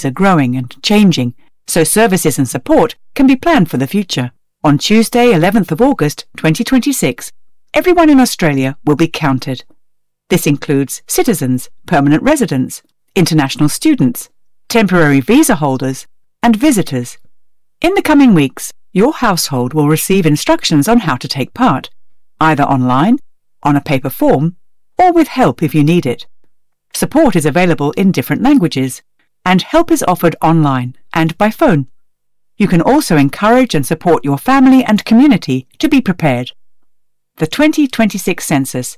are growing and changing, so services and support can be planned for the future. On Tuesday, 11th of August 2026, everyone in Australia will be counted. This includes citizens, permanent residents, international students, temporary visa holders, and visitors. In the coming weeks, your household will receive instructions on how to take part, either online, on a paper form, or with help if you need it. Support is available in different languages, and help is offered online and by phone. You can also encourage and support your family and community to be prepared. The 2026 Census.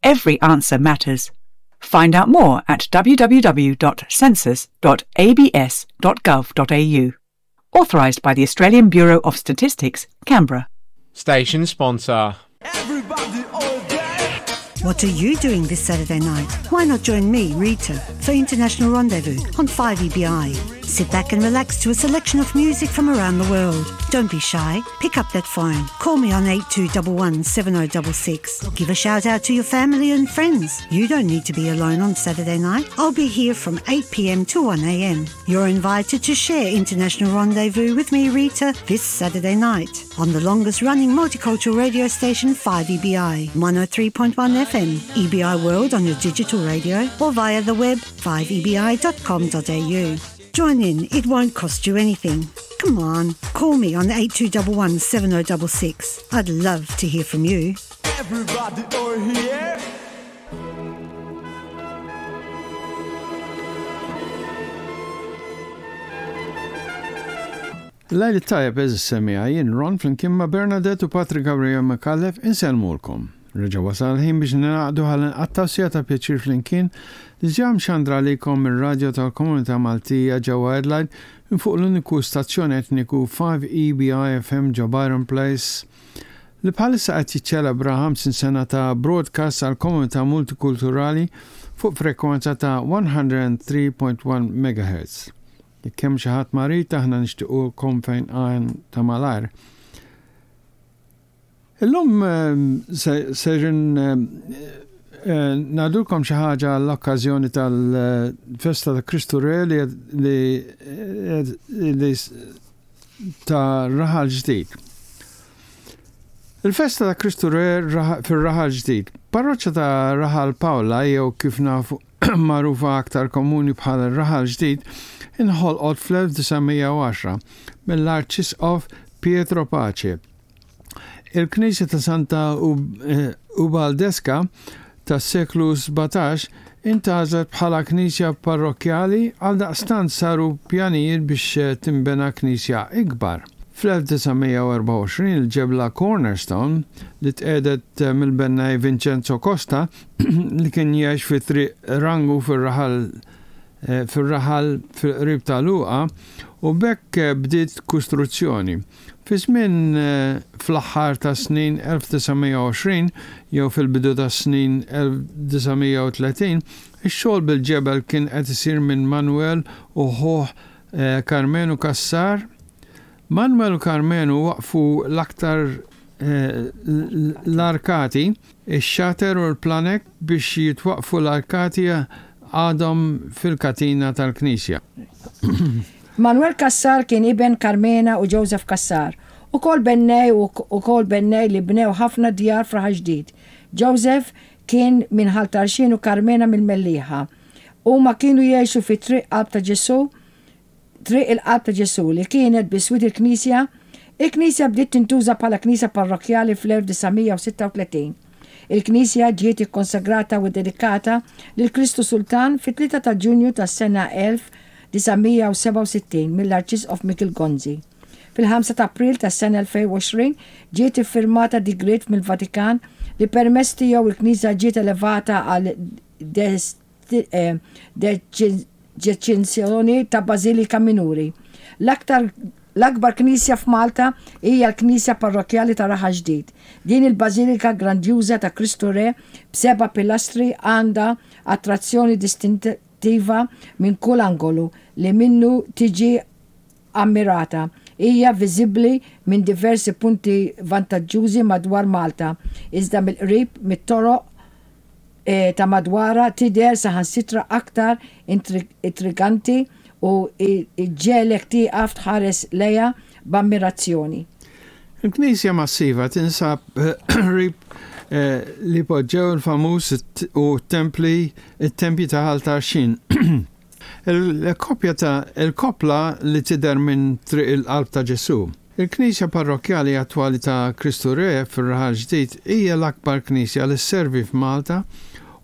Every answer matters. Find out more at www.census.abs.gov.au. Authorised by the Australian Bureau of Statistics, Canberra. Station sponsor. What are you doing this Saturday night? Why not join me, Rita, for International Rendezvous on 5EBI? Sit back and relax to a selection of music from around the world. Don't be shy. Pick up that phone. Call me on 8211 7066. Give a shout out to your family and friends. You don't need to be alone on Saturday night. I'll be here from 8 pm to 1 am. You're invited to share International Rendezvous with me, Rita, this Saturday night on the longest running multicultural radio station 5EBI, 103.1 FM, EBI World on your digital radio or via the web 5ebi.com.au. Join in, it won't cost you anything. Come on, call me on 8211 7066. I'd love to hear from you. Everybody over here. Lejl it-tajjeb għeżież semmiegħa, jien Ron flimkien ma' Bernadette u Patri Gabriel Micallef insellmulkom. Reġa' wasal il-ħin biex ningħaqdu ħalli nqattgħu siegħa ta' pjaċir flimkien li ġa mxandra għalikom mir-radjo tal-komunità Maltija ġewwa Adelaide minn fuq l-uniku stazzjon etniku 5EBI FM ġo Byron Place li bħalissa qed jiċċelebra 50 sena ta' broadcast għall-komunità multikulturali fuq frekwenza ta' 103.1 megahertz. Jekk hemm xi ħadd marid aħna nixtiequlkom fejnqan ta' malajr. Illum sejrin ngħidulkom xi ħaġa għall-okkażjoni tal-festa ta' Kristu Re li li ta' Raħal Ġdid. Il-festa ta' Kristu Re fir-Raħal Ġdid. Parroċċa ta' Raħal Pawla jew kif nafu magħrufa aktar komuni bħala r-Raħal Ġdid, inħolqot fl-1910 mill-Arċisqof Pietro Pace. Il-knisja ta' Santa Ubaldeska tas-seklu 17 intgħażlet bħala knisja parrokkjali għaldaqstant saru pjanijiet biex tinbena knisja ikbar. Fl-1924 il-ġebla cornerstone li tqiegħdet mill-bennaj Vincenzo Costa li kien jgħix fi Triq Rangu fir-raħal fir-raħal fil-qrib ta' Luqa u b'hekk bdiet kustruzzjoni. Fi żmien fl-aħħar tas-snin 1920 jew fil-bidu tas-snin 1930, ix-xogħol bil-ġebel kien qed isir minn Manuel u ħuh Karmenu Cassar. Manuel u Karmenu waqqfu l-aktar l-arkati, ix-xater u l-planek biex jitwaqqfu l-arkati għadhom fil-katina tal-knisja. Manuel Cassar kien iben Carmena u Joseph Cassar, ukoll bennej u ukoll bennej li bnew ħafna djar f'Raħal Ġdid. Joseph kien minn Ħal Tarxien u Carmena mill-Mellieħa. Huma kienu jgħixu fi Triq Qalb ta' Ġesù Triq il-Qalb ta' Ġesù li kienet biswit il-knisja. Il-knisja bdiet tintuża bħala knisja parrokkjali fl-1936. Il-knisja ġiet ikkonsagrata u ddedikata lil Kristu Sultan fit-3 ta' Ġunju tas-sena 1967 mill-Arċisqof Mikiel Gonzi. Fil-5 ta' April tas-sena 2020 ġiet iffirmata digriet mill-Vatikan li permezz tiegħu l-knisja ġiet elevata għal deċiżjoni ta' Bażilika Minuri. L-aktar L-akbar knisja f'Malta hija l-Knisja Parrokkjali ta' Raħal Ġdid. Din il-bażilika grandjuża ta' Kristu Re b'seba' pilastri għandha attrazzjoni distintiva minn kull angolu li minnu tiġi ammirata. Hija viżibbli minn diversi punti vantaġġużi madwar Malta, iżda mill-qrib mit-toroq ta' madwarha tidher saħansitra aktar intriganti u ġġegħlek tieqaf tħares lejha b'ammirazzjoni. Il-knisja massiva tinsab qrib li poġġew il-famuż u t-templi it-tempji ta' Ħal Tarxien. Il-koppja ta' il-koppla li tidher minn Triq il-Qalb ta' Ġesù. Il-knisja parrokkjali attwali ta' Kristu Re fir-Raħal Ġdid hija l-akbar knisja li sservi f'Malta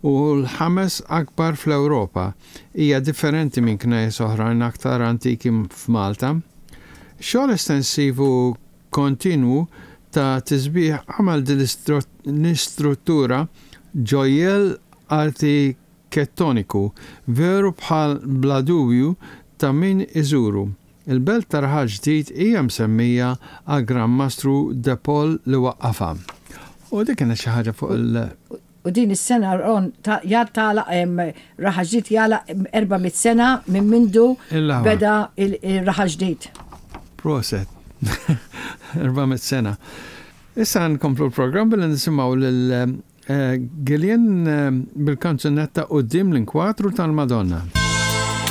u l-ħames akbar fl-Ewropa. Hija differenti minn knejjes oħrajn aktar antiki f'Malta. Xogħol estensiv u kontinwu ta' tisbiħ għamel din l-istruttura ġojjell arkitettoniku veru bħal bla dubju ta' min iżuru. Il-belt ta' Raħal Ġdid hija msemmija għall-Gran Mastru De Paul li waqqafha. U dik kienet xi ħaġa fuq il. U din is-sena Ron tagħlaq Raħal Ġdid jagħlaq 400 sena minn mindu beda il-Raħal Ġdid. Proset. 400 sena. Issa nkomplu l-programm billi nisimgħu lil eh, Gillian eh, bil-kanzunetta Quddiem l-inkwatru tal-Madonna.